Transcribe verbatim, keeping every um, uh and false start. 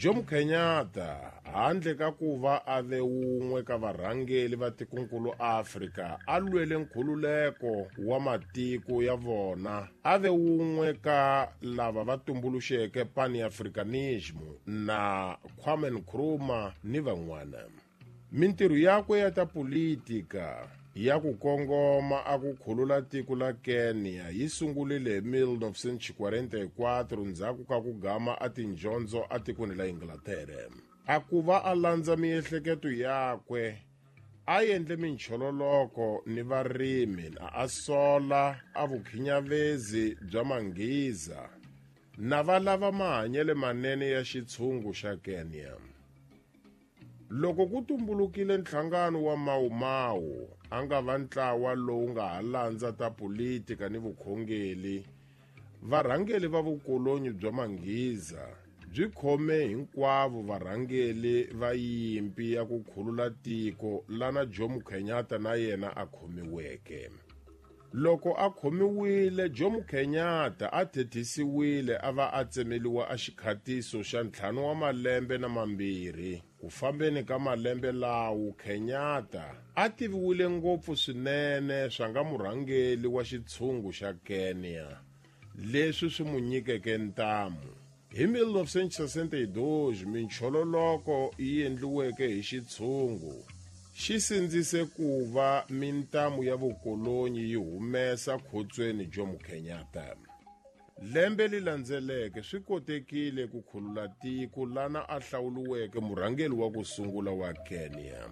Jomo Kenyatta handle ka ku va a ve wun'we ka varhangeli va tikonkulu Afrika a lwele nkhululeko wa matiko ya vona, a ve wun'we ka lava va tumbuluxeke Pan-Africanism na Kwame Nkrumah ni van'wana. Mintirho yakwe ya ta politika ya ku kongoma a ku khulula tiko la Kenya yi sungurile hi mil novecentos e quarenta e quatro ndzhaku ka ku gama a tinjondzo atikweni la Inglaterra. A ku va a landza miehleketo yakwe, a endle minchololoko ni varimi na a sola a vukhinyavezi bya manghiza na va lava mahanyelo manene ya xitshungu xa Kenya. Loko ku tumbulukile nhlangano wa Mau Mau, a nga va ntlawa lowu nga ha landza ta politika ni vukhongeli, varhangeli va vukolonyi bya manghiza byi khome hinkwavo varhangeli va yimpi ya ku khulula tiko lana Jomo Kenyatta na yena a khomiweke. Loko a khomiwile, Jomo Kenyatta a thethisiwile a va a tsemeliwa a xikhatiso xa ntlhanu wa malembe na mambirhi. Ku fambeni ka malembe lawo, Kenyatta a tiviwile ngopfu swinene swa nga murhangeli wa xitshungu xa Kenya, leswi swi mu nyikeke ntamu. Hi mil novecentos e sessenta e dois, minchololoko yi endliweke hi xitshungu xi sindzise ku va mintamu ya vukolonyi yi humesa khotsweni Jomo Kenyatta. Lembe li landzeleke swi kotekile ku khulula tiko lana a hlawuliweke murhangeri wa ku sungula wa Kenya.